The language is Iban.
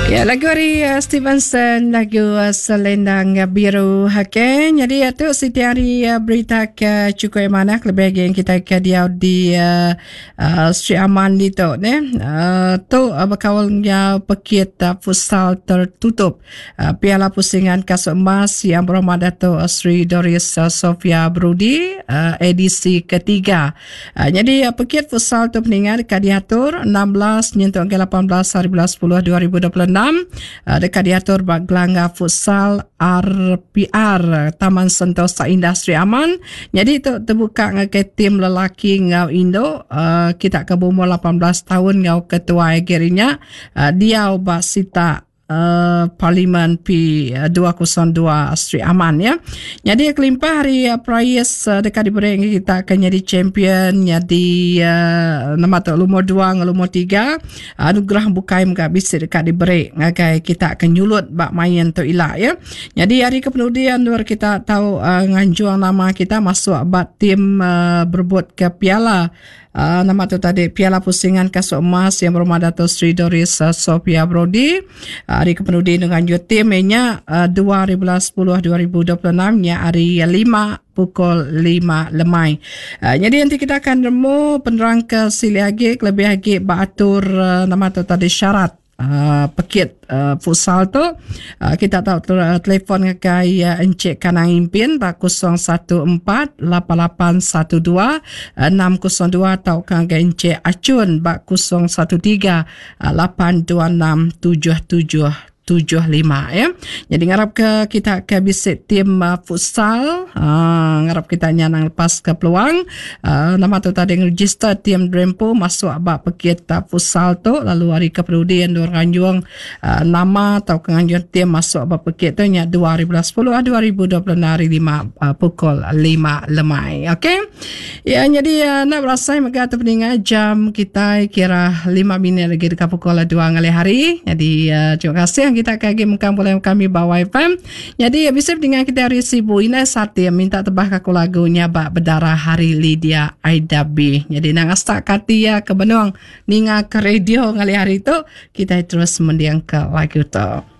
Ya, lagu ari uh, Stevenson, lagu uh, Selendang Biru. Okey, jadi itu siti hari uh, berita ke cukup yang mana lebih lagi yang kita ke diau di uh, uh, Sri Aman di tu ne. Uh, tu uh, berkaul dengan pekit uh, futsal tertutup uh, Piala Pusingan Kasut Emas yang berhormat Dato' Sri Doris uh, Sofia Brudi uh, edisi ketiga. Uh, nyadi uh, pekit futsal tu peninga deka diatur 16 nyentuk ngagai 18 hari bulan 10 2026 uh, deka diatur ba Gelangga Futsal RPR Taman Sentosa Indah Sri Aman. Nyadi tu tebuka ngagai tim lelaki enggau indu uh, kita ke beumur 18 tahun enggau ketuai agi ri nya uh, diau ba sitak Parlimen P202 Sri Aman ya. Nyadi kelimpah ari perais deka diberi ngagai kita ke nyadi champion nyadi nama tu lumur dua enggau lumur tiga anugerah bukai mega bisi deka diberi ngagai kita ke nyulut ba main tu ila ya. Nyadi ari ke penudi endur kita tau nganjung nama kita masuk ba tim berebut ke piala Uh, nama tu tadi Piala Pusingan Kasut Emas yang berumah Dato Sri Doris uh, Sophia Brody. Uh, hari kepenudi dengan tim nya uh, 2010 2026 nya hari 5 pukul 5 lemai. Uh, jadi nanti kita akan nemu penerang ke sili agi lebih agi beratur uh, nama tu tadi syarat uh, pekit uh, futsal tu uh, kita tau telefon ngagai uh, Encik Kanang Impin ba 014 8812 602 tau ka ngagai Encik Achun ba 013 826 77 75 ya. Jadi ngarap ke kita ke bisi tim uh, futsal uh, ngarap kita nyanang lepas ke peluang uh, nama tu tadi register tim Drempo masuk ba pekit uh, futsal tu lalu hari ke penudi endur nganjung uh, nama atau ke nganjung tim masuk ba pekit tu nya 2010 2026 hari 5 uh, pukul 5 lemai. Okey. Ya jadi uh, nak berasai mega tu peninga jam kita kira 5 minit lagi dekat pukul 2 ngalih hari. Jadi uh, terima kasih yang kita kagi mengkang boleh kami bawa FM. Jadi bisa peninga kita hari Sibu Ina Sati minta tebah aku lagunya bak berdarah hari Lydia Aida B. Jadi nang astak kati ya ke benung ninga ke radio ngalih hari tu kita terus mendiang ke lagu tu.